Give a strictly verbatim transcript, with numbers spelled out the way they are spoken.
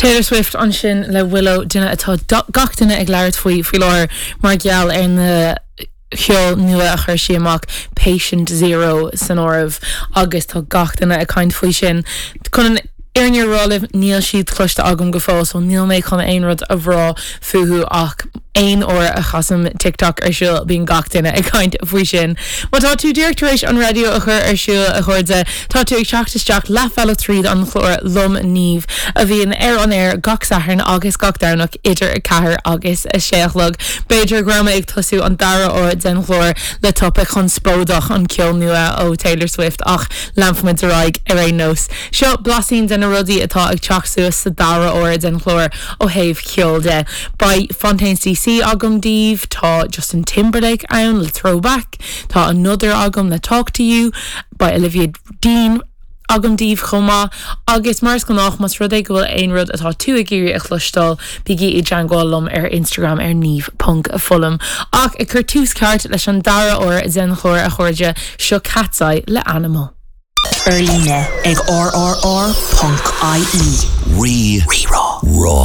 Taylor Swift ansin le Willow duine atá gach duine ag labhairt faoi faoi láthair mar gheall ar na ceol nua a chuir sí amach Patient Zero san áireamh agus tá gach duine ag caint faoi sin. Chun an fhírinne a rá libh níl siad cloiste agam go fóill, so níl mé chun aon rud a rá fúthu ach aon uair a chasaim TikTok ar siúl bíonn gach duine ag caint faoi sin. Má tá tú díreach tar éis an raidió a chur ar siúl a chairde tá tú ag teacht isteach leathbhealach tríd an chlár liom Niamh a bhíonn ar an aer gach Satharn agus gach Domhnach idir a ceathair agus a sé a chlog. B'fhéidir go raibh mé ag tosú an dara huair den chlár le topaic chonspóideach an ceol nua ó Taylor Swift ach leanfaimid ar aghaidh ar aon nós. Seo blaisín de na rudaí atá ag teacht suas sa dara huair den chlár ó thaobh ceol de. Beidh Fontaines DC agam daoibh tá Justin Timberlake ann le throwback, tá Another agam le talk to you, beidh Olivia Dean agam daoibh chomh maith agus mar is gnách más rud é go bhfuil aon rud atá tú ag iarraidh a chloisteáil bígí i dteagmháil liom ar Instagram ar niamh ponc foghlaim. Ach ag cur tús ceart leis an dara huair den chlár a chairde seo Katseye le Animal. Ar líne ag rrr.ie. Rí Rí-rá. rá.